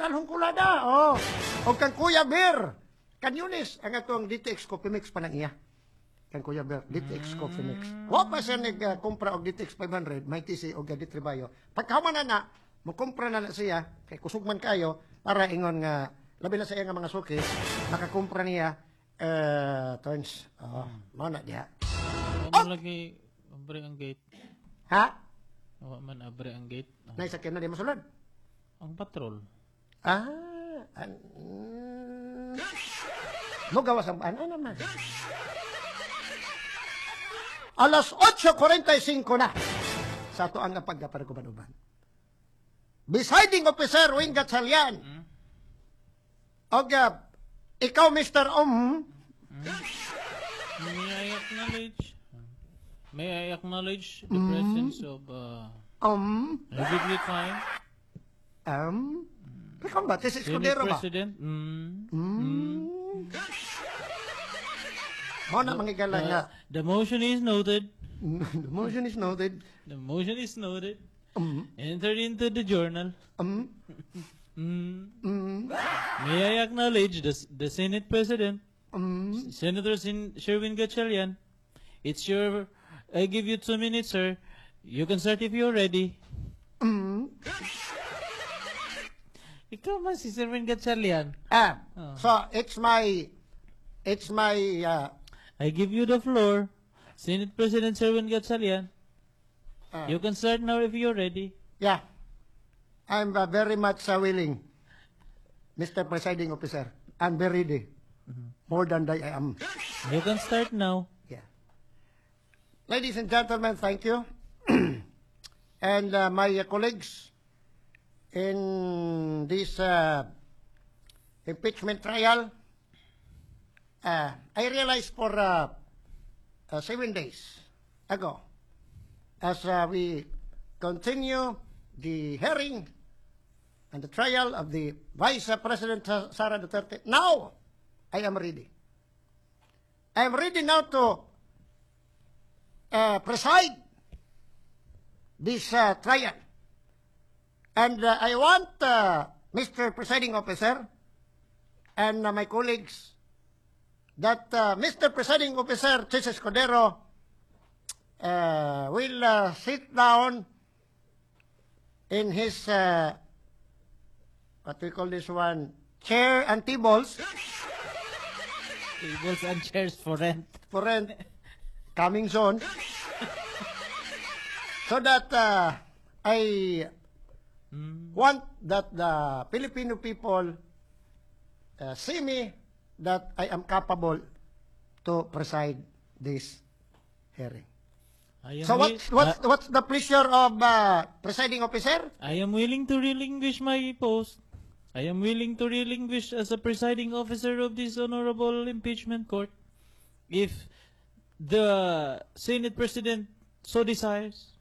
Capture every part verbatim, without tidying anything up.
General Honculada. Oh. O kang Kuya Bear. Kanyunis ang atong D T X Coffee Mix pa nang iya. Kang Kuya Bear, D T X Coffee Mix. Wa pa siya nag-kumpra og D T X five hundred, may T C og D T Bayo. Pagkahuman na na, mukumpra na na siya, kay kusog man kayo, para ingon nga, labi na sa iya nga mga suki, makakumpra niya, eh, turns, oh, mao na diha. Wa man lagi abre ang gate. Ha? Wa man abre ang gate. Ah, Naisakyan na di masulod. Ang patrol. Ah, an, mm, mo gawas ang ano naman. Alas otso kwarenta y singko na sa ato ang pagkaparukuban-uban. Presiding Officer Wing Gatchalian. Og uh, ikaw, Mister Um, May I acknowledge May I acknowledge the presence of uh, um, perfectly fine um, ikaw ba? Tis Senate Escudero ba? President. Mm. Mm. Mo na mga nga. The, the motion is noted. The motion is noted. The motion is noted. Um, Entered into the journal. um, Mm. um, May I acknowledge the, the Senate President, um, Senator Sin Sherwin Gatchalian. It's your. I give you two minutes, sir. You can start if you're ready. um. Ikaw man si Sherwin Gatchalian. Ah, Oh. so it's my it's my uh, I give you the floor. Senate President Sherwin Gatchalian. Ah. You can start now if you're ready. Yeah. I'm uh, very much uh, willing, Mister Presiding Officer. I'm very ready. More than I am. You can start now. Yeah. Ladies and gentlemen, thank you. And uh, my uh, colleagues in this uh, impeachment trial, uh, I realized for uh, uh, seven days ago, as uh, we continue the hearing and the trial of the Vice President Sara Duterte, now I am ready. I am ready now to uh, preside this uh, trial. And uh, I want uh, Mister Presiding Officer and uh, my colleagues that uh, Mister Presiding Officer Chiz Escudero uh, will uh, sit down in his, uh, what we call this one, chair and tables. Tables and chairs for rent. For rent, coming soon, so that uh, I want that the Filipino people uh, see me that I am capable to preside this hearing. I am So wi- what's what's what's the pleasure of uh, presiding officer? I am willing to relinquish my post. I am willing to relinquish as a presiding officer of this honorable impeachment court if the Senate President so desires.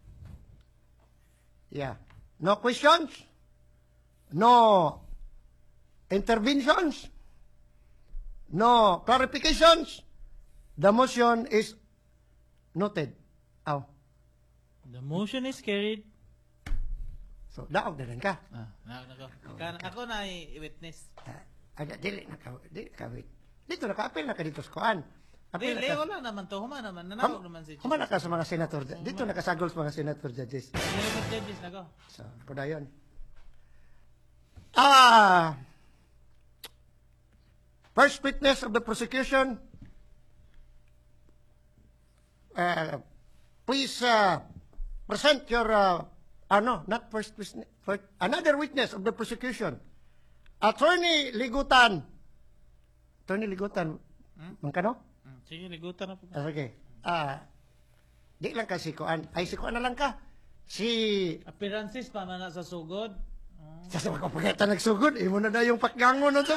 Yeah. No questions? No interventions? No clarifications? The motion is noted. Aw. The motion is carried. So, daog na rin ka. Ah, na, nako. Ka- Ako na i-witness. Ah, aga, dili na ka, dili ka, wait. Dito na ka, apil na ka dito sa kuan. Apil Dili, na ka. wala naman to. Human naman. Nanawag naman si Human na ka sa mga senator. Dito na kasagol sa mga senator judges. Senator judges nako. So, kudayon. Ah, first witness of the prosecution, uh, please uh, present your, uh, ano, not first witness, first, another witness of the prosecution. Attorney Ligutan. Attorney Ligutan, mangkano? Mm, Sige, ligutan na po. Ah, sige. Ah, di lang ka si Kuan. Ay, si Kuan na lang ka. Si Appearances pa man na sa sugod. Sa sa mga pagkita nagsugod, imo na na yung pakgangon na to.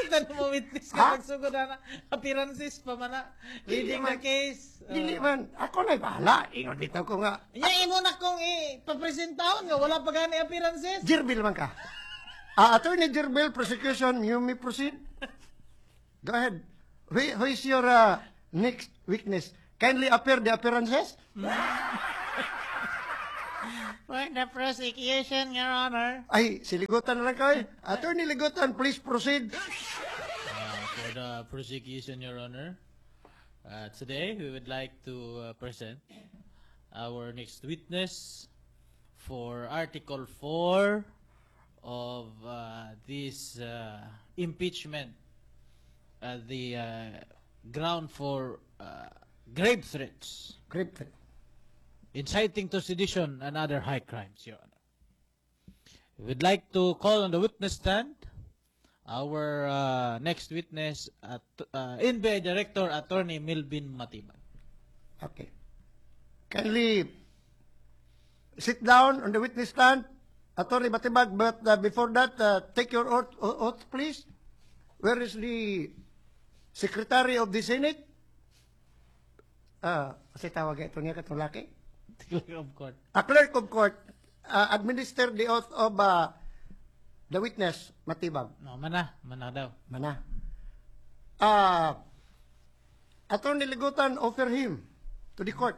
Kasi mo witness Ha? ka nagsugod na. Appearances pa man na. Dili Leading man. the case. Dili man, ako na bahala. Ingon dito ko nga. Nya imo na kong ipapresentahon nga wala pa gani appearances. Jirbil man ka. Ah, Attorney Jirbil, prosecution, you may proceed. Go ahead. Who, who is your uh, next witness? Kindly appear the appearances. For the prosecution, Your Honor. Ay, si Ligutan na lang kay. Attorney Ligutan, please proceed. Uh, for the prosecution, Your Honor. Uh, today, we would like to uh, present our next witness for Article four of uh, this uh, impeachment, uh, the uh, ground for uh, grave threats, Grave threat. Inciting to sedition and other high crimes, Your Honor. We would like to call on the witness stand our uh, next witness, at, uh, N B I Director Attorney Melvin Matibag. Okay. Kindly sit down on the witness stand, Attorney Matibag, but uh, before that, uh, take your oath, oath, please. Where is the Secretary of the Senate? Ah, kasi tawag ito niya katong laki. Clerk of court. A clerk of court, uh, administer the oath of uh, the witness, Matibag. No, mana. Mana daw. Mana. Ah, Attorney Ligutan, offer him to the court.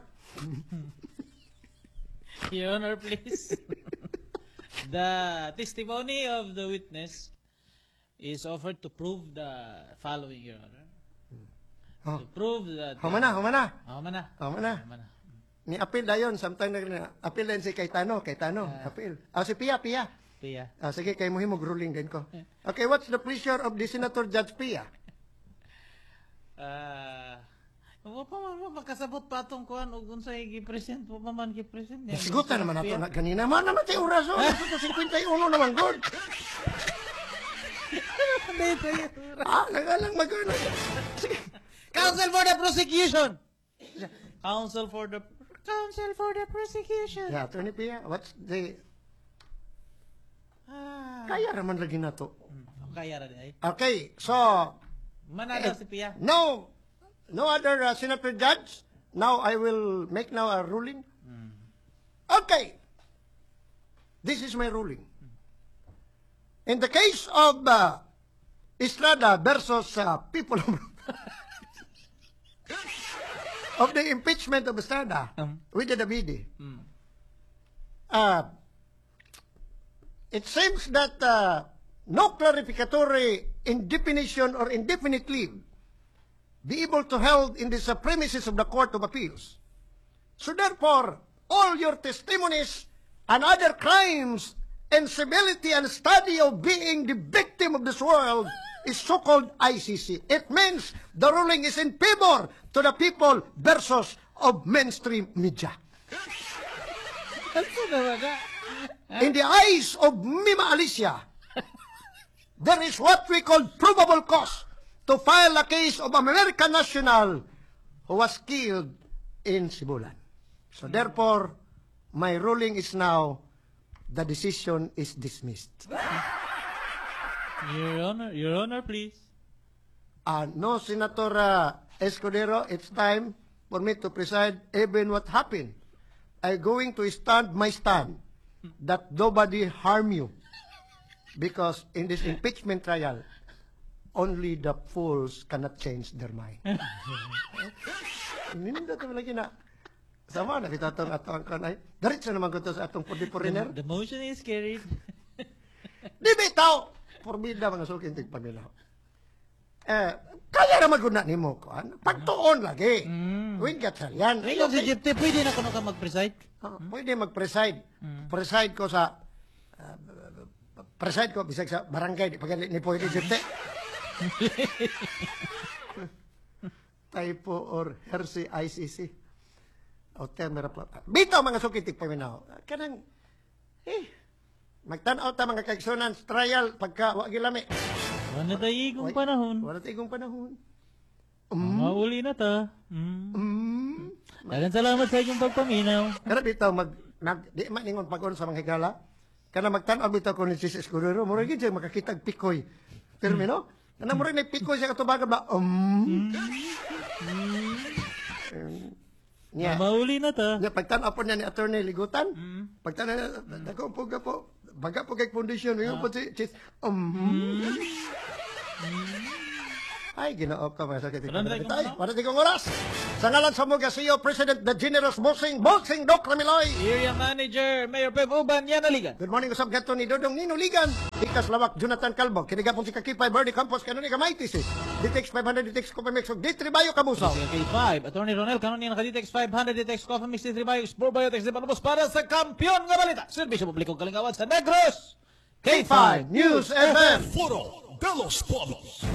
Your Honor, please. The testimony of the witness is offered to prove the following, Your Honor. Oh. To prove that Humana, humana. Oh, mana. Humana. Mana. Ni appeal dayon samtang nag appeal din si Cayetano, Cayetano, appeal. Ah, si Pia, Pia. Pia. Ah, sige, kay mo himog ruling din ko. Okay, what's the pleasure of the Senator Judge Pia? Ah, wa pa man wa makasabot pa atong kuan og unsay gi-present, wa pa man gi-present niya. Sigutan naman nato na ganina. Man naman tay oras oh. Nasa fifty-one naman good. Ah, nagalang mag Sige. Counsel for the prosecution. Counsel for the Counsel for the prosecution. Yeah, Attorney Pia, what's the Ah. Kaya raman lagi nato. Hmm, kaya ra di ay. Okay, so Mana daw si Pia. no no other uh, Senator Judge. Now I will make now a ruling. Okay. This is my ruling. In the case of uh, Estrada versus uh, people of, of the impeachment of Estrada Um. with the Davide, Mm. uh, it seems that uh, no clarificatory indefinition or indefinite leave be able to held in the premises of the Court of Appeals. So therefore, all your testimonies and other crimes and civility and study of being the victim of this world is so-called I C C. It means the ruling is in favor to the people versus of mainstream media. Ano naman na? In the eyes of Mima Alicia, there is what we call probable cause to file a case of American national who was killed in Sibulan. So therefore, my ruling is now the decision is dismissed. Your Honor, Your Honor, please. Uh, no, Senator uh, Escudero, it's time for me to preside even what happened. I'm going to stand my stand that nobody harm you. Because in this impeachment trial, only the fools cannot change their mind. Nindot naman lagi na. Sama na kita atong atong kan ay. Diretso naman ko to sa atong for the foreigner. The, the motion is carried. Di bitaw! Porbida, mga suking tigpaminaw. Eh, kaya ra maguna nimo kuan. Pagtuon lagi. Mm. Wing yan. Ikaw si Jeff, pwede na kuno ka mag-preside? Ah, pwede mag-preside. Preside ko sa ah, preside ko bisag sa barangay di pa gali ni pwede jud te. Typo or heresy I C C. O termera pa. Bitaw, mga suki tigpaminaw. Kanang eh magtan-aw ta, mga kaigsunan, sa trial pagka wa gilami. Wala tayo igong panahon. Wala ta igong panahon. Mauli na ta. Mm. Mm. Daghang salamat sa inyong pagpaminaw. Pero bitaw mag, mag di man ingon pag sa mga higala. Kana magtan-aw bitaw ko ni Sis Escudero, mura gid siya makakitag pikoy. Pero no? Kana mura may pikoy siya katubagan ba? Um. Um. Nya. Mauli na ta. Nya pagtan-aw po niya ni Attorney Ligutan. Mm. Pagtan-aw niya, dako po ka po. Baga po kay foundation, uh. po si Chis. Um. Ay, Ginoo ko, mga sakit. Wala na tayong Ay, ano? wala tayong oras. Sa ngalan sa Mugasio, President the Generous Boxing, Boxing Doc Ramiloy. Area Manager, Mayor Pep Uban, yan aligan. Good morning, usab gato ni Dodong Nino Ligan. Ikas Lawak, Jonathan Calvo. Kinigapon si Kakipay, Bernie Campos, Kanuni Kamaitis. D T X five hundred, D T X Coffee Mix, ug D three Bayo Kabusaw. K five, Attorney Ronel Canon naka D T X five hundred, D T X Coffee Mix, D three Bio, Explore Biotex, di Palubos para sa kampiyon nga balita. Serbisyo publiko kalingawan sa Negros. K five News F M. Foro de los Pueblos.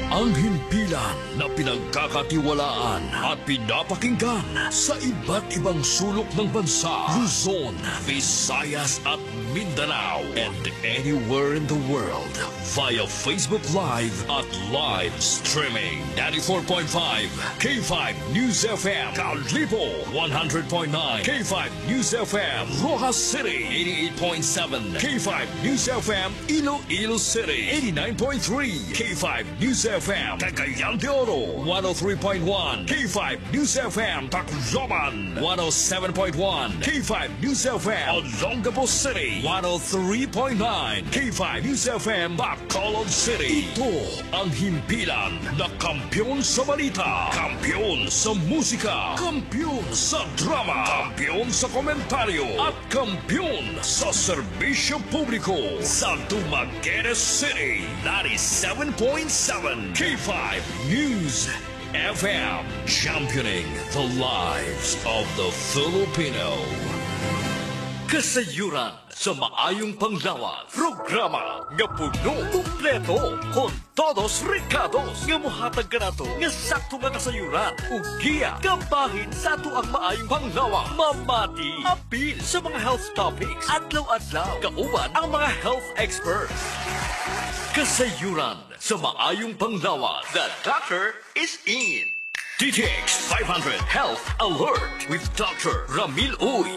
Ang himpilan na pinagkakatiwalaan at pinapakinggan sa iba't ibang sulok ng bansa, Luzon, Visayas at Mindanao, and anywhere in the world via Facebook Live at live streaming. ninety-four point five K five News F M, Kalibo one hundred point nine K five News F M, Roxas City eighty-eight point seven K five News F M, Iloilo City eighty-nine point three K five News F M, Cagayan de Oro one oh three point one K five News F M, Tacloban one oh seven point one K five News F M, Olongapo City one oh three point nine K five News F M, Bacolod City. Ito ang himpilan na kampiyon sa balita, kampiyon sa musika, kampiyon sa drama, kampiyon sa komentaryo, at kampiyon sa serbisyo publiko sa Dumaguete City. ninety-seven point seven K five News F M, championing the lives of the Filipino. Kasayuran sa maayong panglawas. Programa nga puno, kumpleto, con todos recados nga muhatag kanato nga sakto nga kasayuran ug giya kabahin sa ato ang maayong panglawas. Mamati, apil sa mga health topics, adlaw-adlaw, kauban ang mga health experts. Kasayuran sa maayong panglawas. The doctor is in. D T X five hundred Health Alert with Doctor Ramil Uy.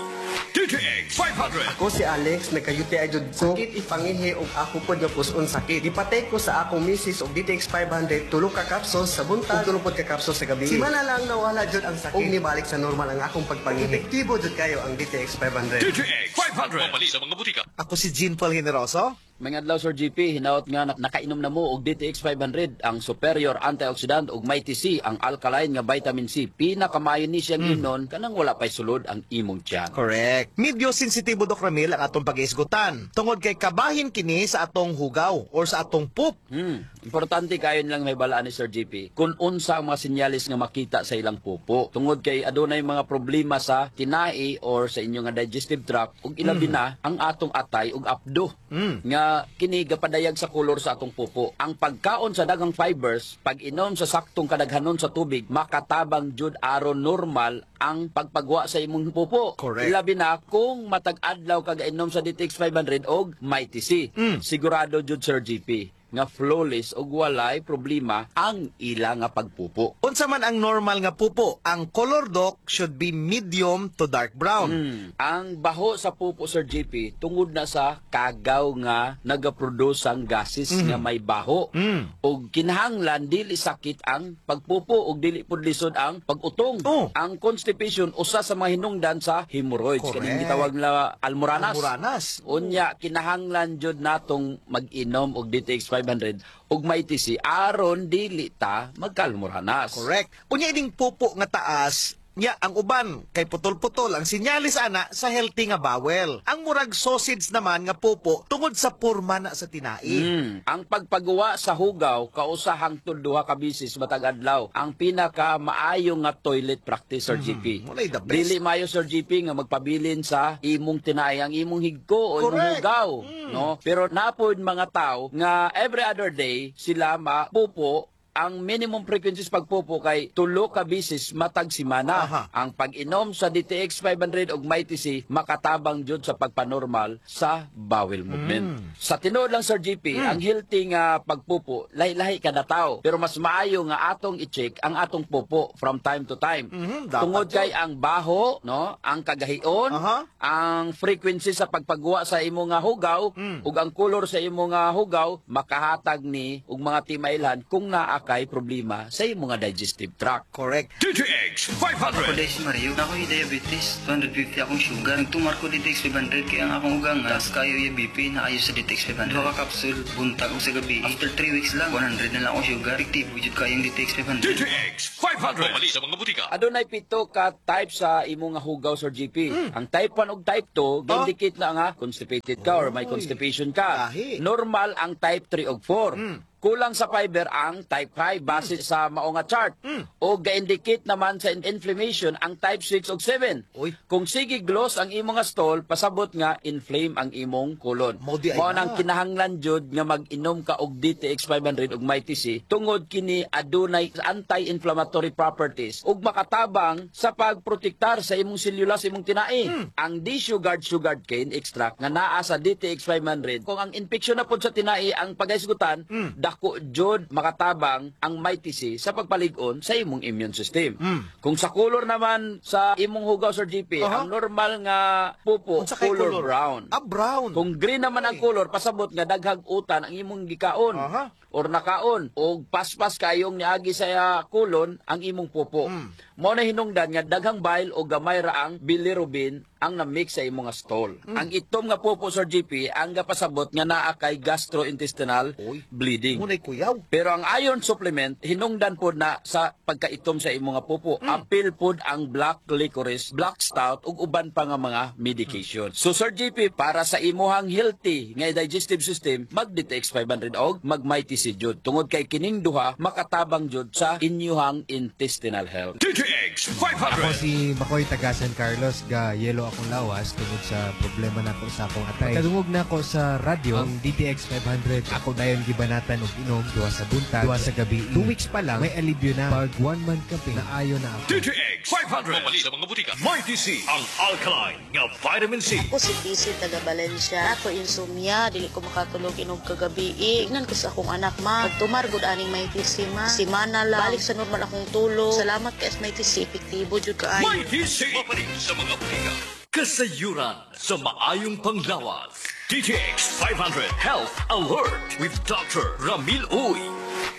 D T X five hundred. Ako si Alex, nagka-U T I jud ko. Sakit ipangihi og ako pod nga puson sakit. Gipatay ko sa akong misis og D T X five hundred, tulo ka capsules sa buntag ug tulo pod ka capsules sa gabi. Simana lang nawala jud ang sakit ug nibalik sa normal ang akong pagpangihi. Epektibo jud kayo ang D T X five hundred. D T X five hundred. Mamali sa mga butika. Ako si Jean Paul Generoso. Mga adlaw, Sir G P, hinaot nga nak- nakainom na mo og D T X five hundred, ang superior antioxidant, ug Mighty C, ang alkaline nga vitamin C. Pinakamaayo ni siyang mm. imnon kanang wala pay sulod ang imong tiyan. Correct. Medyo sensitibo, Doc Ramil, ang atong pag-isgutan. Tungod kay kabahin kini sa atong hugaw or sa atong poop. Hmm. Importante kayo lang may balaan ni Sir G P kung unsa ang mga sinyalis nga makita sa ilang pupo. Tungod kay adunay mga problema sa tinai or sa inyong nga digestive tract ug ilabi na ang atong atay ug apdo. Nga kini gapadayag sa kolor sa atong pupo. Ang pagkaon sa daghang fibers, pag-inom sa saktong kadaghanon sa tubig, makatabang jud aron normal ang pagpagwa sa imong pupo. Correct. Ilabi na kung matag adlaw kag inom sa D T X five hundred og Mighty C. Sigurado jud, Sir G P, nga flawless ug walay problema ang ila nga pagpupo. Unsa man ang normal nga pupo? Ang color, Doc, should be medium to dark brown. Mm. Ang baho sa pupo, Sir G P, tungod na sa kagaw nga nagaproduce ang gases nga may baho. Mm. Ug kinahanglan dili sakit ang pagpupo ug dili pud lisod ang pag-utong. Oh. Ang constipation usa sa mga hinungdan sa hemorrhoids, Correct. kaning gitawag na almoranas. Almoranas. Unya kinahanglan jud natong mag-inom og D T X five hundred ug Mighty C aron dili ta magkalmoranas. Correct. Unya ining pupo nga taas, nya ang uban kay putol-putol ang sinyalis ana sa healthy nga bowel. Ang murag sausage naman nga pupo tungod sa porma na sa tinai. Mm. Ang pagpagawa sa hugaw kausa hangtod duha ka bisis matag adlaw ang pinaka maayo nga toilet practice, Sir G P. Walay the best. Dili maayo, Sir G P, nga magpabilin sa imong tinai ang imong higko o imong Correct. hugaw, no? Pero napod mga tao nga every other day sila mapupo. Ang minimum frequencies pagpupo kay tulo ka bisis matag simana. Aha. Ang pag-inom sa D T X five hundred ug Mighty C makatabang jud sa pagpanormal sa bowel movement. Sa tinuod lang, Sir G P, ang healthy nga pagpupo lahi-lahi kada tao. Pero mas maayo nga atong i-check ang atong pupo from time to time. Mhm, dapat Tungod kay ang baho, no, ang kagahion, Aha. ang frequency sa pagpagwa sa imo nga hugaw ug ang color sa imo nga hugaw makahatag ni og mga timailhan kung naa kay problema sa imong nga digestive tract. Correct. D T X five hundred. Ako si Mario. Ako yung diabetes. two hundred fifty akong sugar. Nagtumar ko D T X five hundred kaya ang akong ugang taas kayo yung B P na ayo sa D T X five hundred. Duha ka capsule buntag ug sa gabi. After three weeks lang, one hundred na lang akong sugar. Epektibo jud kayong D T X five hundred. D T X five hundred. Pamali sa mga butika. Adunay pito ka type sa imong nga hugaw, Sir G P. Ang type one ug type two indicate na nga constipated ka or may constipation ka. Lahi. Normal ang type three ug four. Kulang sa fiber ang type five base sa mao nga chart. O ga-indicate naman sa inflammation ang type six ug seven. Uy. Kung sige gloss ang imong nga stool, pasabot nga inflame ang imong colon. Mao di ay Mao na. Nang kinahanglan jud nga mag-inom ka og D T X five hundred ug Mighty C tungod kini adunay anti-inflammatory properties ug makatabang sa pagprotektar sa imong selula sa imong tinai. Ang desugared sugar cane extract nga naa sa D T X five hundred, kung ang infection na pod sa tinai ang pagahisgutan, dako jud makatabang ang Mighty C sa pagpalig-on sa imong immune system. Kung sa color naman sa imong hugaw, Sir G P, Aha. ang normal nga pupo Unsa kay color, color? brown. Ah, brown. Kung green naman ang color, pasabot nga daghag utan ang imong gikaon Aha. or nakaon og paspas kayong niagi sa ah, kolon ang imong pupo. Mm. Mao na hinungdan nga daghang bile o gamay ra ang bilirubin ang na-mix sa imong nga stool. Mm. Ang itom nga pupo, Sir G P, ang gapasabot nga naa kay gastrointestinal Uy. bleeding. Munay kuyaw. Pero ang iron supplement, hinungdan pod na sa pagkaitom sa imong nga pupo. Apil pod ang black licorice, black stout ug uban pa nga mga medication. So Sir G P, para sa imuhang healthy nga digestive system, mag D T X five hundred og mag Mighty C jud. Tungod kay kining duha makatabang jud sa inyuhang intestinal health. D T X five hundred. Ako si Makoy taga San Carlos, ga yelo akong lawas tungod sa problema nako sa akong atay. Kadungog nako sa radyo ang D T X five hundred. Ako dayon gibanatan og inom duha sa buntag, duha sa gabi. Two weeks pa lang may alibyo na. Pag one month kape, naayo na ako. D T X five hundred. Pamali sa mga butika. Mighty C. Ang alkaline nga vitamin C. Ako si P C taga Valencia. Ako insomnia, dili ko makatulog inog kagabi. Ingnan ko sa akong anak, ma. Pagtumar gud aning Mighty C, ma. Simana lang. Balik sa normal akong tulog. Salamat kay Mighty C. Epektibo jud kaayo. Mighty C. Mapali sa mga butika. Kasayuran sa maayong panglawas. D T X five hundred Health Alert with Doctor Ramil Uy.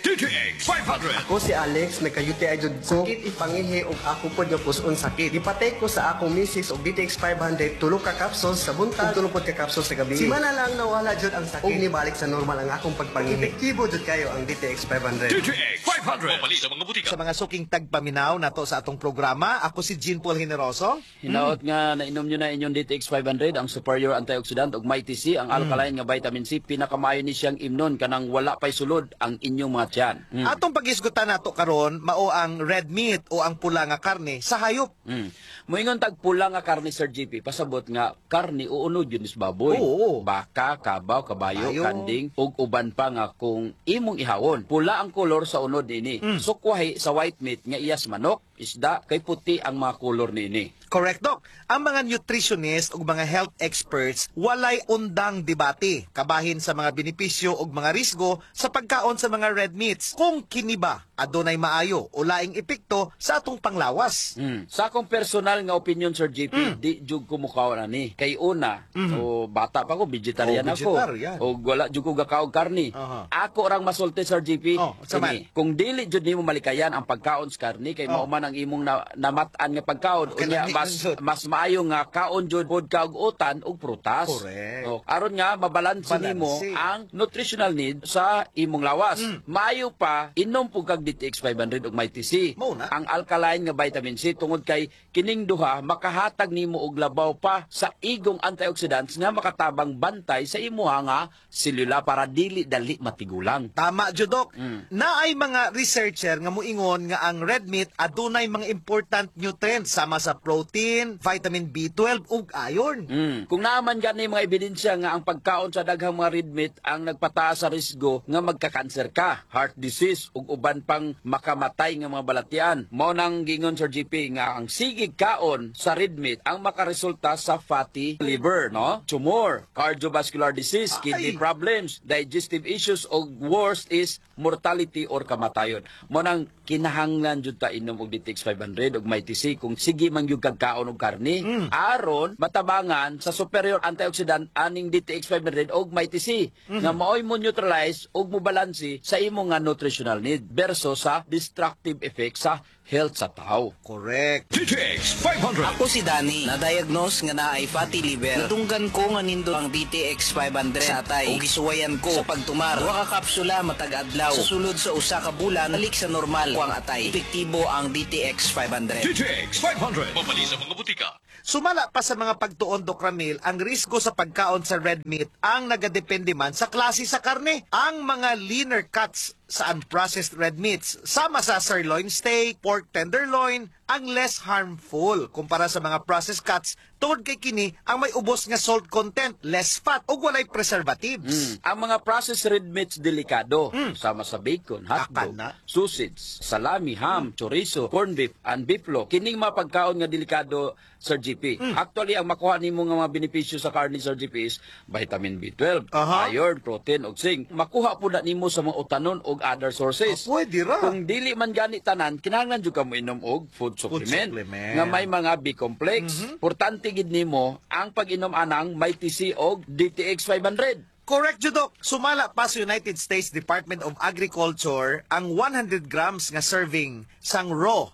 D T X five hundred. Ako si Alex, nagka-U T I jud ko. Sakit ipangihi ug ako pod nga puson sakit. Gipatay ko sa akong misis og D T X five hundred, tulo ka capsules sa buntag ug tulo pod ka capsules sa gabi. Simana lang nawala jud ang sakit ug nibalik sa normal ang akong pagpangihi. Epektibo jud kayo ang D T X five hundred. D T X five hundred. Mapali sa mga butika. Sa mga suking tagpaminaw nato sa atong programa, ako si Jean Paul Generoso. Hinaot nga nainom nyo na inyong D T X five hundred, ang superior antioxidant, ug Mighty C, ang alkaline nga vitamin C, pinakamaayo ni siyang imnon kanang wala pay sulod ang inyong mga tiyan. Mm. Atong pagisgutan nato karon mao ang red meat o ang pula nga karne sa hayop. Mm. Moingon tag pula nga karne, Sir G P, pasabot nga karne uunod yun is baboy. Oo. Baka, kabaw, kabayo, Bayo. Kanding ug uban pa nga kung imong ihawon. Pula ang kolor sa unod niini. Mm. Sukwahi sa white meat nga iyas manok, isda, kay puti ang mga kolor niini. Correct, Doc. Ang mga nutritionist ug mga health experts walay undang debate kabahin sa mga benepisyo ug mga risgo sa pagkaon sa mga red meats. Kung kini ba adunay maayo o laing epekto sa atong panglawas. Mm. Sa akong personal nga opinion, Sir G P, Mm. di jud ko mukaon ani. Kay una, o bata pa ko, vegetarian Oh, ako. vegetarian. O wala jud ko gakaog karni. Aha. Ako rang masulti, Sir G P. Oh, unsa man? Kini, kung dili jud nimo malikayan ang pagkaon sa karni kay Oh. mao man ang imong na, namat-an nga pagkaon, Okay, unya lami mas man jud. mas maayo nga kaon jud pod ka og utan ug prutas. Correct. O, aron nga mabalanse Balanse. nimo ang nutritional need sa imong lawas. Mm. Maayo pa inom pud kag D T X five hundred ug Mighty C. Mao na. Ang alkaline nga vitamin C tungod kay kining duha makahatag nimo og labaw pa sa igong antioxidants nga makatabang bantay sa imuha nga selula para dili dali matigulang. Tama jud, Dok. Mm. Naay mga researcher nga muingon nga ang red meat adunay mga important nutrients sama sa protein, vitamin B twelve ug iron. Mm. Kung naaman gani mga ebidensya nga ang pagkaon sa daghang mga red meat ang nagpataas sa risgo nga magka-cancer ka, heart disease ug uban pang makamatay nga mga balatian. Mao nang gingon, Sir G P, nga ang sige kaon sa red meat ang makaresulta sa fatty liver, no? Tumor, cardiovascular disease, kidney Ay. problems, digestive issues ug worst is mortality or kamatayon. Mao nang kinahanglan jud ta inom og D T X five hundred ug Mighty C kung sige man gyud kag kaon og karne Mm. aron matabangan sa superior antioxidant aning D T X five hundred og Mighty C Mm. nga maoy mo neutralize ug mo balanse sa imo nga nutritional need versus sa destructive effect sa health sa tao. Correct. D T X five hundred. Ako si Danny, na-diagnose nga naay fatty liver. Nadunggan ko nga nindot ang D T X five hundred sa atay ug gisuwayan ko sa pagtumar. Duha ka kapsula matag adlaw. Sa sulod sa usa ka bulan, balik sa normal ko ang atay. Epektibo ang D T X five hundred. D T X five hundred. Mabali sa mga butika. Sumala pa sa mga pagtuon, Doc Ramil, ang risgo sa pagkaon sa red meat ang nagadepende man sa klase sa karne. Ang mga leaner cuts sa unprocessed red meats, sama sa sirloin steak, pork tenderloin, ang less harmful kumpara sa mga processed cuts tungod kay kini ang may ubos nga salt content, less fat ug walay preservatives. Mm. Ang mga processed red meats delikado, sama sa bacon, hotdog, Akana. sausage, salami, ham, chorizo, corned beef, and beeflo. Kining mga pagkaon nga delikado, Sir G P. Actually, ang makuha nimo nga mga benepisyo sa karne, Sir G P, is vitamin B twelve, Aha. iron, protein ug zinc. Makuha po na nimo sa mga utanon ug other sources. Ah, pwede ra. Kung dili man gani tanan, kinahanglan jud ka mo inom og food supplement, supplement. nga may mga B complex. Importante gid nimo ang pag-inom anang Mighty C og D T X five hundred. Correct, jud, Dok. Sumala pa sa United States Department of Agriculture, ang one hundred grams nga serving sang raw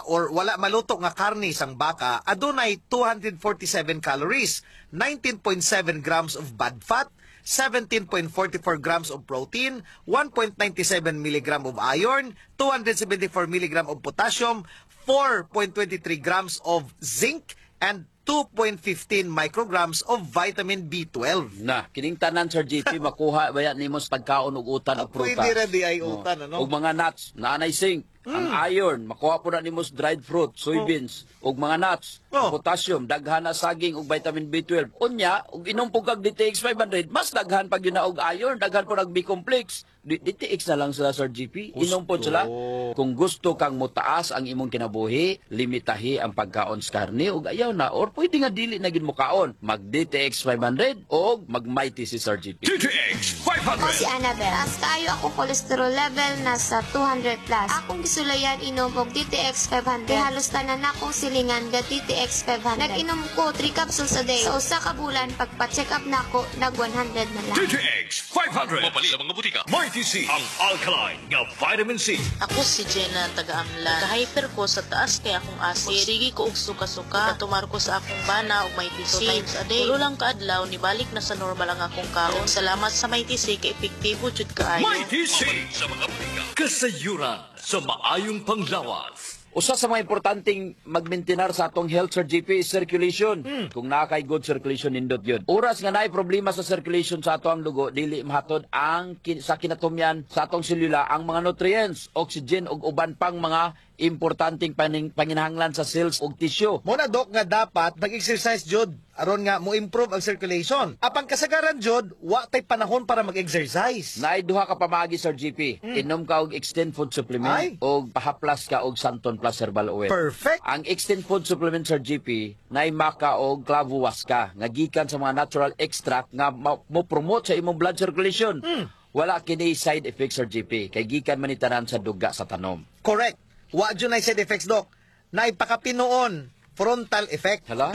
or wala maluto nga karne sang baka adunay two hundred forty-seven calories, nineteen point seven grams of bad fat, seventeen point four four grams of protein, one point nine seven milligram of iron, two hundred seventy-four milligram of potassium, four point two three grams of zinc, and two point one five micrograms of vitamin B twelve. Na, kining tanan, Sir G P, makuha ba yan nimo sa pagkaon og utan og prutas. Pwede ra di ay utan, ano? Ug mga nuts, naanay zinc, ang iron, makuha po na nimo sa dried fruit, soybeans, ug mga nuts, Oh. potassium, daghan na saging ug vitamin B twelve. Unya, ug inom po kag D T X five hundred, mas daghan pag yun na og iron, daghan po nag B complex. D- DTX na lang sila, Sir G P. Inom po sila. Kung gusto kang motaas ang imong kinabuhi, limitahi ang pagkaon sa karne ug ayaw na or pwede nga dili na gid mo kaon. Mag D T X five hundred o mag Mighty si Sir G P. D T X Ako five hundred. si Annabel. Taas kaayo ako cholesterol level, nasa two hundred plus. Akong gisulayan inom og D T X five hundred. Kay halos tanan akong silingan ga D T X five hundred. Nag-inom ko three capsules a day. Sa usa ka bulan, pagpa-check up nako, nag one hundred na lang. D T X five hundred. Mabali sa mga butika. Mighty C. Ang alkaline nga vitamin C. Ako si Jenna, taga-Amlan. Ka-hyper ko sa taas kay akong acid. Sige ko og suka-suka. Katumar ko sa akong bana og Mighty C. Two times a day. Tulo lang kaadlaw, nibalik na sa normal ang akong kaon. Salamat sa Mighty C kay epektibo jud kaayo. Mighty C. Sa mga butika. Kasayuran sa maayong panglawas. Usa sa mga importanteng magmaintenar sa atong health, Sir G P, is circulation. Kung naa kay good circulation, nindot yun. Oras nga naay problema sa circulation sa ato ang dugo, dili mahatod ang kin- sa kinatumyan sa atong selula ang mga nutrients, oxygen ug uban pang mga importanteng paning, panginahanglan sa cells ug tissue. Mo na, Dok, nga dapat mag-exercise jud aron nga mo improve ang circulation. Apang kasagaran jud, wa tay panahon para mag-exercise. Naay duha ka pamaagi, Sir G P. Inom ka og Extend Food Supplement Ay. og pahaplas ka og Santon Plus Herbal Oil. Perfect. Ang Extend Food Supplement, Sir G P, naay maka og clavuaska nga gikan sa mga natural extract nga ma- mo promote sa imong blood circulation. Wala kini side effects, Sir G P, kay gikan man ni tanan sa duga sa tanom. Correct. Wa jud nay side effects, Dok. Naipakapinuon frontal effect. Hala?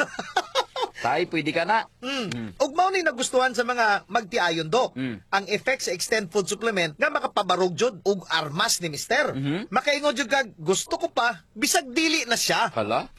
Tay, pwede ka na. Mm. Ug mao ni nagustuhan sa mga magtiayon, Dok. Mm. Ang effect sa Extend Food Supplement nga makapabarog jud og armas ni mister. Mhm. Makaingon jud kag gusto ko pa bisag dili na siya. Hala?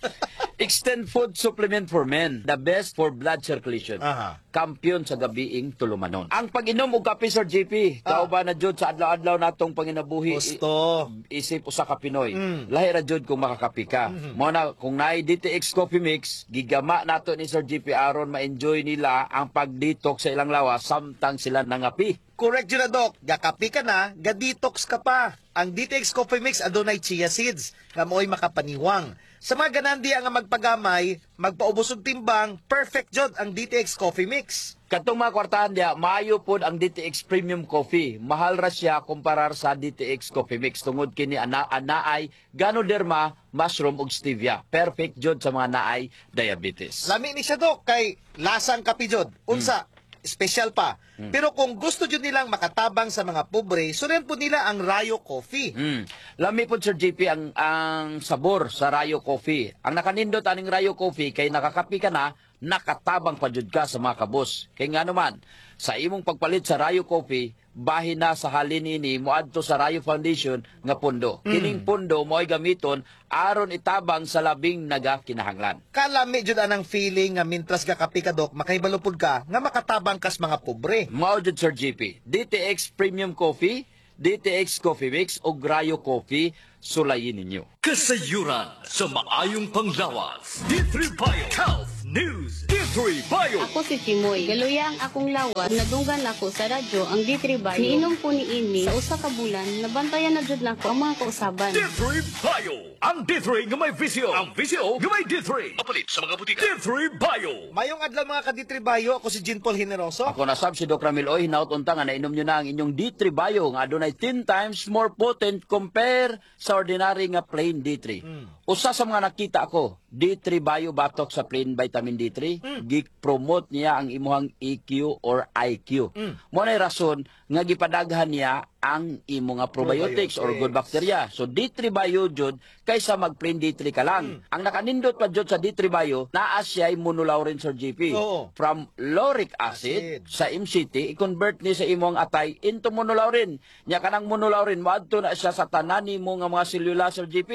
Extend Food Supplement for Men, the best for blood circulation. Aha. Kampiyon sa gabiing tulumanon. Ang pag-inom og kape, Sir G P, Ah. kauban na jud sa adlaw-adlaw natong panginabuhi. Gusto. Isip usa ka Pinoy. Mm. Lahi ra jud kung makakape ka. Mo na kung naay D T X Coffee Mix, gigama nato ni Sir G P aron ma-enjoy nila ang pag-detox sa ilang lawas samtang sila nangapi. Correct jud na, Dok. Gakapi ka na, ga-detox ka pa. Ang D T X Coffee Mix adunay chia seeds nga mo'y makapaniwang. Sa mga ganahan diya nga magpagamay, magpaubos og timbang, perfect jud ang D T X Coffee Mix. Katong mga kwartahan diya, maayo pod ang D T X Premium Coffee. Mahal ra siya kumparar sa D T X Coffee Mix tungod kini ana anaay Ganoderma, mushroom ug stevia. Perfect jud sa mga naay diabetes. Lami ni siya, Dok, kay lasang kape jud. Unsa? Special pa. Pero kung gusto jud nilang makatabang sa mga pobre, sulayan po nila ang Rayo Coffee. Mm. Lami po, Sir J P, ang ang sabor sa Rayo Coffee. Ang nakanindot aning Rayo Coffee kay nakakapi ka na, nakatabang pa jud ka sa mga kabus. Kay nga naman, sa imong pagpalit sa Rayo Coffee, bahin na sa halin ini moadto sa Rayo Foundation nga pondo. Kining pondo mo'y gamiton aron itabang sa labing nagakinahanglan. Kalami jud anang feeling nga mintras gakapi ka, Dok, makahibalo pud ka nga makatabang kas mga pobre. Mao jud, Sir J P. D T X Premium Coffee, D T X Coffee Mix ug Rayo Coffee, sulayin ninyo. Kasayuran sa maayong panglawas. D three Bio Health News. D three Bio. Ako si Chimoy. Galuya ang akong lawas. Nadunggan ako sa radyo ang D three Bio. Niinom ko ni ini sa usa ka bulan, nabantayan na jud nako ang mga kausaban. D three Bio. Ang D three nga may V C O. Ang V C O nga may D three. Apalit sa mga butika. D three Bio. Mayong adlaw, mga ka-D three Bio, ako si Jean Paul Generoso. Ako na sab si Doc Ramil Oy, hinaut unta nga nainom nyo na ang inyong D three Bio nga adunay ten times more potent compare sa ordinary nga plain D three. Usa sa mga nakita ako, D three Bio batok sa plain vitamin D three, gi-promote niya ang imuhang E Q or I Q. Mo na rason nga gipadaghan niya ang imo nga probiotics or good bacteria. So D three Bio jud kaysa mag plain D three ka lang. Ang nakanindot pa jud sa D three Bio, naa siya monolaurin, Sir J P. Oo. From lauric acid, Acid. Sa M C T, i-convert ni sa imong atay into monolaurin. Nya kanang monolaurin moadto na siya sa tanan nimo nga mga selula, Sir J P.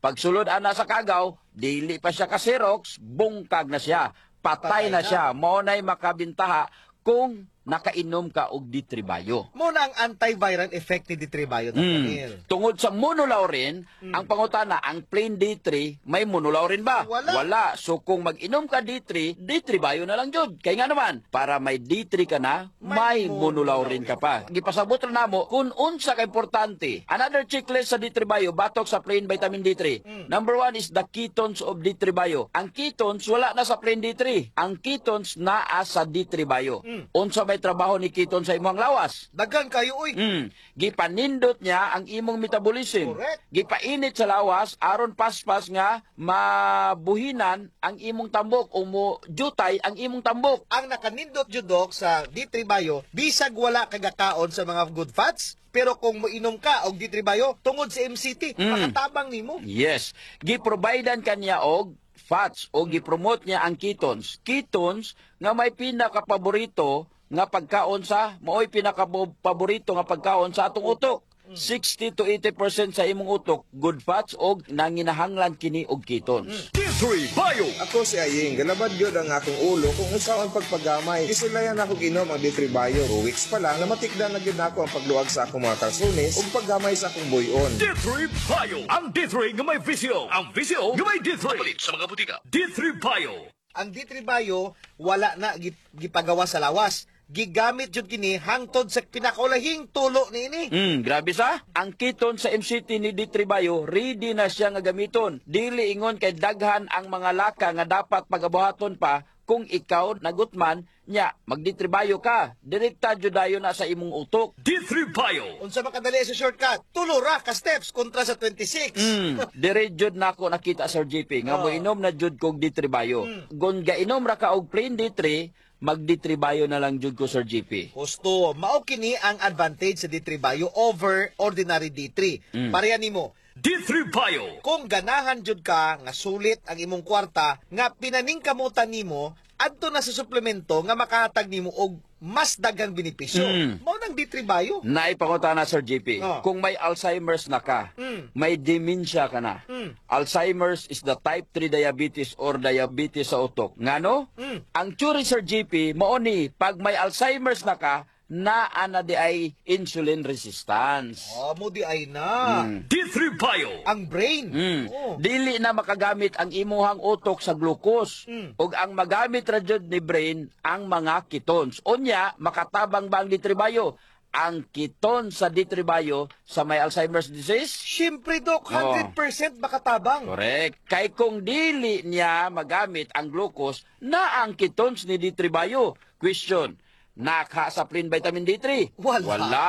Pagsulod ana sa kagaw, dili pa siya ka Xerox, bungkag na siya. Patay, Patay na na. siya. Mao nay makabintaha kung nakainom ka og D three Bio. Mo na ang antiviral effect ni D three Bio, Doc Mm. Ramil. Tungod sa monolaurin, ang pangutana, ang plain D three, may monolaurin ba? Wala. Wala. So kung mag-inom ka D three, D three Bio na lang jud. Kay nga naman, para may D three ka na, may May monolaurin ka pa. Gipasabot ra namo kung unsa ka importante. Another checklist sa D three Bio, batok sa plain vitamin D three. Number one is the ketones of D three Bio. Ang ketones, wala na sa plain D three. Ang ketones naa sa D three Bio. Unsa may trabaho ni ketone sa imong lawas? Daghan kayo uy. Mm. Gipanindot niya ang imong metabolism. Correct. Gipainit sa lawas aron paspas nga mabuhinan ang imong tambok o mo jutay ang imong tambok. Ang nakanindot jud, Dok, sa D three Bio, bisag wala kagakaon sa mga good fats, pero kung moinom ka og D three Bio tungod sa M C T, Mm. makatabang nimo. Yes. Giprovidean kaniya og fats o gipromote niya ang ketones. Ketones nga may pinakapaborito nga pagkaon sa maoy pinakapaborito nga pagkaon sa atong utok. sixty to eighty percent sa imong utok good fats og nanginahanglan kini og ketones. D three Bio. Ako si Aying, galabad gyud ang akong ulo kung unsa ang pagpagamay. Gisulayan ako ginom ang D three Bio. Two weeks pa lang, namatikdan na gyud nako ang pagluag sa akong mga kalsunis ug paggamay sa akong buyon. D three Bio. Ang D three nga may V C O. Ang V C O nga may D three. Apalit sa mga butika. D three Bio. Ang D three Bio wala na gi- gipagawa sa lawas. Gigamit jud kini hangtod sa pinakaulahing tulo niini. Mm, grabe sa. Ang ketone sa M C T ni D three Bio, ready na siya nga gamiton. Dili ingon kay daghan ang mga laka nga dapat pagabuhaton pa kung ikaw nagutman nya mag D three Bio ka. Direkta jud dayon na sa imong utok. D three Bio. Unsa makadali sa shortcut? Tulo ra ka steps kontra sa twenty-six. Mm, dire jud nako nakita, Sir J P, nga Oh. moinom na jud kog D three Bio. Gon gainom ra ka og plain D three, mag D three Bio na lang jud ko, Sir J P. Husto, mao kini ang advantage sa D three Bio over ordinary D three. Mm. Pareha nimo. D three Bio. Kung ganahan jud ka nga sulit ang imong kwarta nga pinaningkamutan nimo adto na sa suplemento nga makahatag nimo og mas daghang benepisyo. Mm. Mao nang D three Bio. Naipangutana, Sir J P, Oh. kung may Alzheimer's na ka, Mm. may dementia ka na. Mm. Alzheimer's is the type three diabetes or diabetes sa utok. Ngano? Mm. Ang theory, Sir J P, mao ni pag may Alzheimer's na ka, naa na di ay insulin resistance. Oh, mo di ay na. Mm. D three Bio. Ang brain. Mm. Oh. Dili na makagamit ang imuhang utok sa glucose. Mm. Ug ang magamit ra jud ni brain ang mga ketones. Unya, makatabang ba ang D three Bio? Ang ketone sa D three Bio sa may Alzheimer's disease? Siyempre, Dok, Oh. one hundred percent makatabang. Correct. Kay kung dili niya magamit ang glucose, na ang ketones ni D three Bio. Question, naka sa plain vitamin D three? Wala. Wala.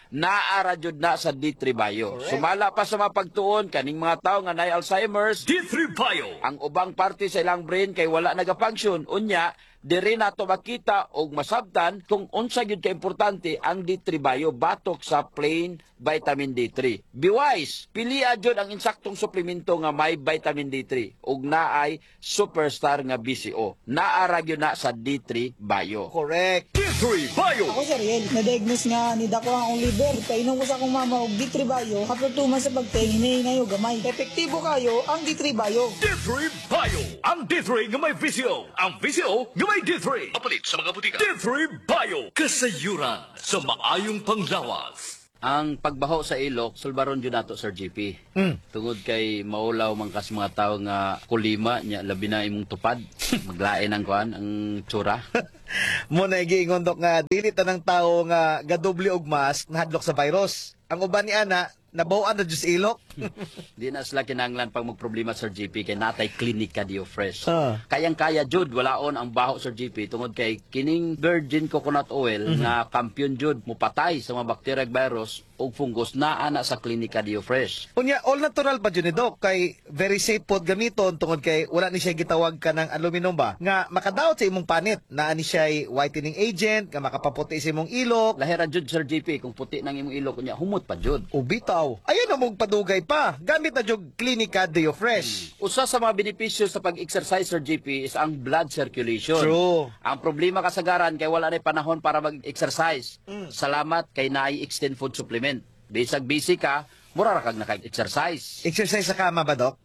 Naa ra jud na sa D three Bio. Correct. Sumala pa sa mga pagtuon, kaning mga tao nga nay Alzheimer's, D three Bio. Ang ubang parte sa ilang brain kay wala naga-function. Unya, Diri nato makita og masabtan kung unsa gyud ka importante ang D three Bio batok sa plain vitamin D three. Be wise, pilia jud ang insaktong suplemento nga may vitamin D three ug naay superstar nga B C O. Naa ra gyud na sa D three Bio. Correct. D three Bio. Ako si Ariel, na-diagnose nga ni dako ang akong liver. Kainom ko sa akong mama og D three Bio, after two months sa pagteng, hinahinay og gamay. Epektibo kayo ang D three Bio. D three Bio. Ang D three nga may V C O. Ang V C O nga may D three. Apalit sa mga butika. D three Bio. Kasayuran sa maayong panglawas. Ang pagbaho sa ilok, sulbaron jud nato, Sir G P. Mm. Tungod kay maulaw man kas mga tao nga kulima nya, labi na imong tupad, maglain ang kuan, ang tsura. Mo na giingon, Dok, nga dili tanang tao nga gadoble og mask nahadlok sa virus. Ang uban ni ana nabaw-an na jud sa ilok. Di na sila kinanglan pag magproblema, Sir G P, kay natay Klinika Dio Fresh. Ah. Kayang-kaya jud walaon ang baho, Sir G P, tungod kay kining virgin coconut oil Mhm. nga kampiyon jud mupatay sa mga bakterya, virus ug fungus, naa na sa Klinika Dio Fresh. Unya, all natural pa jud ni, Dok, kay very safe pod gamiton tungod kay wala ni siya gitawag ka ng aluminum ba nga makadaot sa imong panit. Naa ni siya whitening agent nga makapaputi sa imong ilok. Lahera jud, Sir G P, kung puti nang imong ilok unya humot pa jud. O bitaw. Ayaw na mong padugay pa. Gamit na jud Klinika Dio Fresh. Usa sa mga benepisyo sa pag-exercise, Sir G P, is ang blood circulation. True. Ang problema kasagaran kay wala na panahon para mag-exercise. Mm. Salamat kay naay Extend Food Supplement. Bisag busy ka, mura ra kag naka-exercise. Exercise sa kama ba, Dok?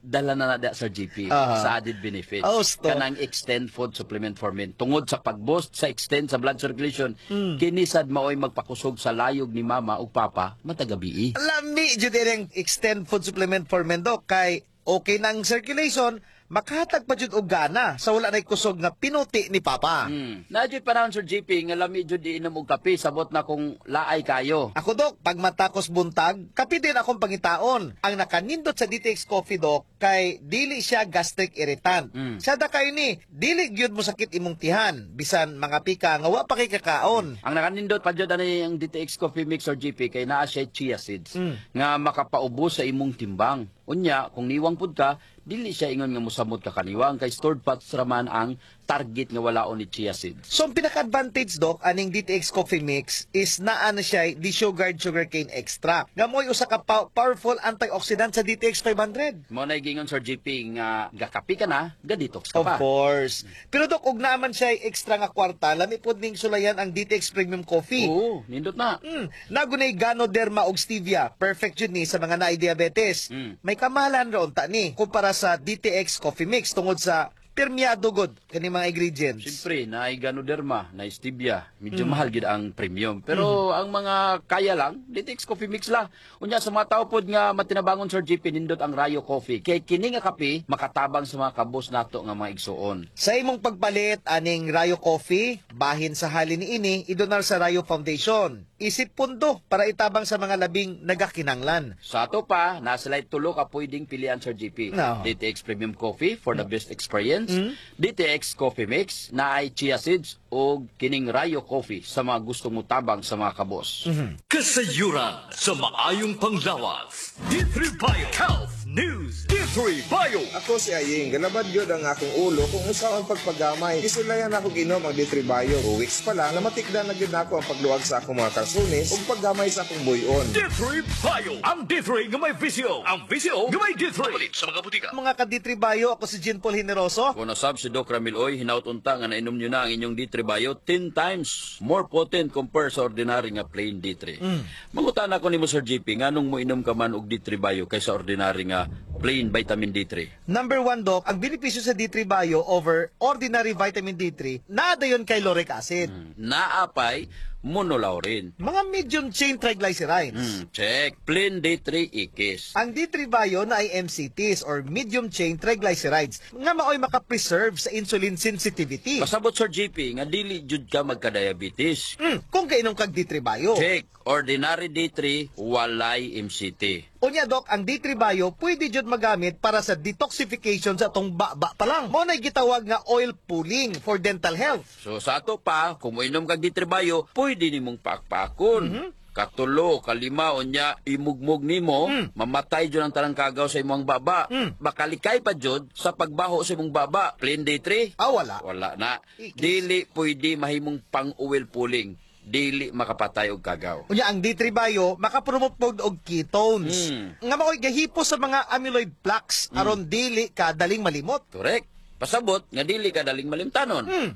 Dala na na da, Sir G P, Aha. sa added benefits. Oh, sto. Kanang Extend Food Supplement for Men. Tungod sa pag-boost sa extend sa blood circulation, Mm. kini sad maoy magpakusog sa layog ni mama ug papa matag gabii. Lami jud ining Extend Food Supplement for Men, Dok, kay okay ng circulation, makahatag pa jud og gana sa wala nay kusog nga pinuti ni papa. Mm. Na jud panahon, Sir G P, nga lami jud iinom og kape, sabot na kung laay kayo. Ako, Dok, pag matakos buntag, kape din akong pangitaon. Ang nakanindot sa D T X Coffee, Dok, kay dili siya gastric irritant. Mm. Sada kayo ni, dili gyud mo sakit imong tihan, bisan mga pika nga wa pa kay kakaon. Ang nakanindot pa jud ani ang D T X Coffee Mix, Sir G P, kay naa siya chia seeds Mm. nga makapaubos sa imong timbang. Unya, kung niwang pud ka, dili siya ingon nga mosamot ka kaniwang kay stored fats raman ang target nga walaon ni chia seeds. So ang pinaka-advantage, Dok, aning D T X Coffee Mix is naa na siya desugared sugarcane extract. Nga mo'y usa ka pow- powerful antioxidant sa D T X five hundred. Mo na gingon, Sir G P, nga gakapi ka na, ga-detox ka Of pa. course. Pero Dok, og naaman siya extra nga kwarta, lami pod ning sulayan ang D T X Premium Coffee. Oo, nindot na. Mm, nagunay ganoderma og stevia. Perfect jud ni sa mga naay diabetes. Mm. May kamahalan ra unta ni kumpara sa D T X Coffee Mix tungod sa pirmiyado gud kani mga ingredients. Siyempre, naay ganoderma, naay stevia, medyo Mm. mahal gid ang premium. Pero ang mga kaya lang, D T X Coffee Mix la. Unya sa mga tao pod nga matinabangon, Sir G P, nindot ang Rayo Coffee. Kay kini nga kape makatabang sa mga kabos nato nga mga igsuon. Sa imong pagpalit aning Rayo Coffee, bahin sa halin niini idonar sa Rayo Foundation. Isip pundo para itabang sa mga labing nagakinanglan. Sa ato pa, nasa sila'y tulo ka pwedeng pilian, Sir G P. No. D T X Premium Coffee for the best experience, D T X Coffee Mix na ay chia seeds o kining Rayo Coffee sa mga gustong mutabang sa mga kabos. Kasayuran sa maayong panglawas. D three Bio Health News. D three Bio. Ako si Aying, galabad gyud ang akong ulo kung unsaon pagpagamay. Gisulayan ako ginom ang D three Bio. Two weeks pa lang, namatikdan na gyud nako ang pagluwag sa akong mga kalsunis ug paggamay sa akong buyon. D three Bio. Ang D three nga may V C O. Ang V C O nga may D three. Palit sa mga butika. Mga ka-D three Bio, ako si Jean Paul Generoso. Kung nasab si Doc Ramil Oy, hinaut unta nga nainom nyo na ang inyong D three Bio, ten times more potent compare sa ordinary nga plain D three. Mm. Mangutan ako nimo, Sir G P, nganong mo inom ka man og D three Bio kaysa ordinary nga plain vitamin D three? Number one, Doc, ang benepisyo sa D three Bio over ordinary vitamin D three, naa dayon kay lauric acid. Naapay monolaurin. Mga medium chain triglycerides. Mm, check. Plain D three ikis. Ang D three Bio na ay M C Ts or medium chain triglycerides nga maoy makapreserve sa insulin sensitivity. Pasabot, Sir G P, nga dili jud ka magka-diabetes. Mm, kung kainom kag D three Bio. Check. Ordinary D three, walay M C T. Unya, Doc, ang D three Bio pwede jud magamit para sa detoxification sa atong baba pa lang. Mo na gitawag nga oil pulling for dental health. So sa ato pa, kung moinom kag D three Bio, pwede nimong pakpakon. Katulo, kalima, unya imugmog nimo, Mm. mamatay jud ang tanang kagaw sa imong baba. Makalikay pa jud sa pagbaho sa imong baba. Plain D three? Ah, wala. Wala na. Ikis. Dili pwede mahimong pang-oil pulling. Dili makapatay og kagaw. Unya ang D three Bio makapromote pod og ketones. Mm. Nga mao'y gahipos sa mga amyloid plaques aron dili ka daling malimot. Correct. Pasabot nga dili ka daling malimtanon. Mm.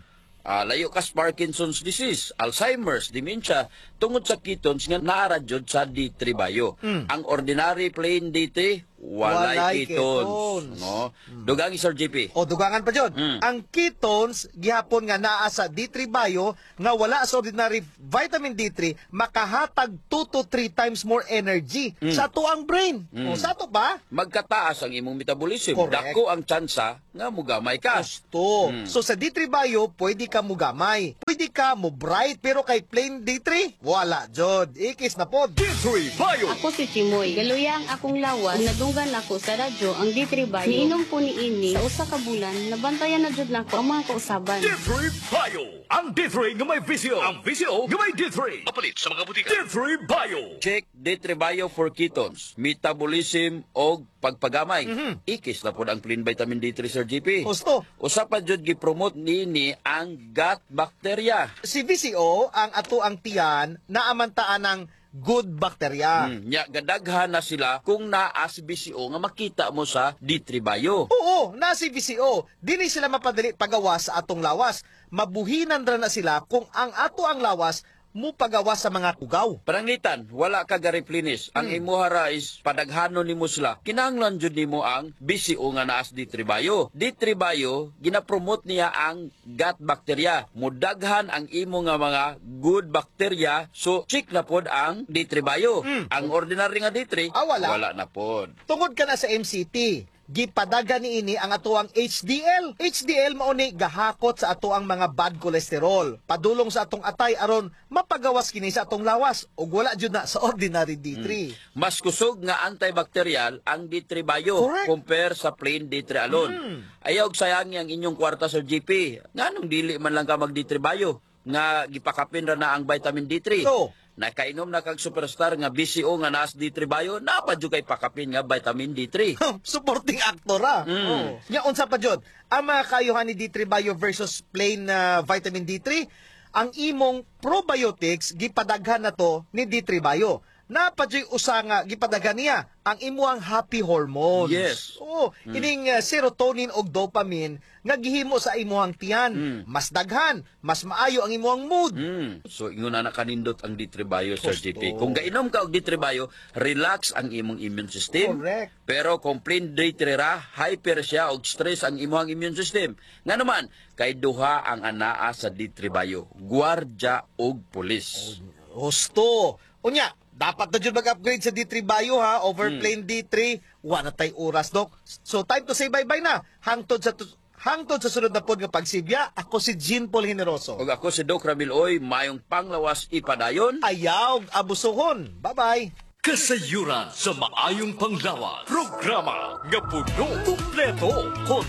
Ah, layo ka sa Parkinson's disease, Alzheimer's, dementia tungod sa ketones nga naa ra jud sa D three Bio. Mm. Ang ordinary plain D three, walay Walay ketones. ketones. No? Dugangi, Sir J P. O dugangan pa jud. Mm. Ang ketones gihapon nga naa sa D three Bio nga wala sa ordinary vitamin D three makahatag two to three times more energy Mm. sa atoang brain. Mm. O sa ato ba? Magkataas ang imong metabolism. Correct. Dako ang tsansa nga mugamay ka. Gusto. Mm. So sa D three Bio, pwede ka mugamay. Pwede ka mo bright pero kay plain D three, wala jud. Ikis na pod. D three Bio. Ako si Chimoy. Galuya ang akong lawas. Nadunggan ako sa radyo ang D three Bio. Niinom ko ni ini sa usa ka bulan, nabantayan na jud nako ang mga kausaban. D three Bio. Ang D three nga may V C O. Ang V C O nga may D three. Apalit sa mga butika. D three Bio. Check D three Bio for ketones, metabolism og pagpagamay. Ikis na pod ang plain vitamin D three, Sir J P. Gusto. Usa pa jud gipromote niini ang gut bacteria. Si V C O, ang ato ang tiyan, naamantaan ng good bacteria. Mm, nya gadaghan na sila kung naa si V C O nga makita mo sa D three Bio. Oo, na si V C O. Dili sila mapadali pagawa sa atong lawas. Mabuhinan ra na sila kung ang ato ang lawas mo pagawa sa mga kugaw. Pananglitan, wala ka ga-replenish. Ang imuha ra is padaghanon nimo sila. Kinahanglan jud nimo ang V C O nga naa sa D three Bio. D three Bio, gina-promote niya ang gut bacteria. Mudaghan ang imo nga mga good bacteria, so check na pod ang D three Bio. Ang ordinary nga D three, Ah, wala. wala na pod. Tungod ka na sa M C T, gipadagan niini ang atoang H D L. H D L mao ni gahakot sa atoang mga bad cholesterol. Padulong sa atong atay aron mapagawas kini sa atong lawas ug wala jud na sa ordinary D three. Mas kusog nga antibacterial ang D three Bio Correct. compare sa plain D three alone. Ayaw og sayangi ang inyong kwarta, Sir J P. Nganong dili man lang ka mag D three Bio nga gipakapin ra na ang vitamin D three? So, Nakainom na kag superstar nga V C O nga naas D three Bio, napa jud kay pakapin nga vitamin D three. Supporting actor ah. Mm. Oh. Nya unsa pa jud? Ang mga kayuhan ni D three Bio versus plain na vitamin D three, ang imong probiotics gipadaghan na to ni D three Bio. Napa juy usa nga gipadaghan niya ang imuang happy hormones. Yes. Oo, ining uh, serotonin ug dopamine nga gihimo sa imuhang tiyan. Mas daghan, mas maayo ang imuhang mood. Mm. So ingon na kanindot ang D three Bio, Sir Gusto. J P. Kung gainom ka og D three Bio, relax ang imong immune system. Correct. Pero kung plain D three ra, hyper siya og stress ang imong immune system. Nga naman, kay duha ang anaa sa D three Bio, gwardya og pulis. Husto. Unya, dapat na jud mag-upgrade sa D three Bio ha, over plain D three. Wa na tay oras, Dok. So time to say bye-bye na. Hangtod sa hangtod sa sunod na pod nga pagsibya, ako si Jean Paul Generoso. Ug ako si Doc Ramil Oy, mayong panglawas ipadayon. Ayaw abusuhon. Bye-bye. Kasayuran sa maayong panglawas. Programa nga puno, kumpleto, kon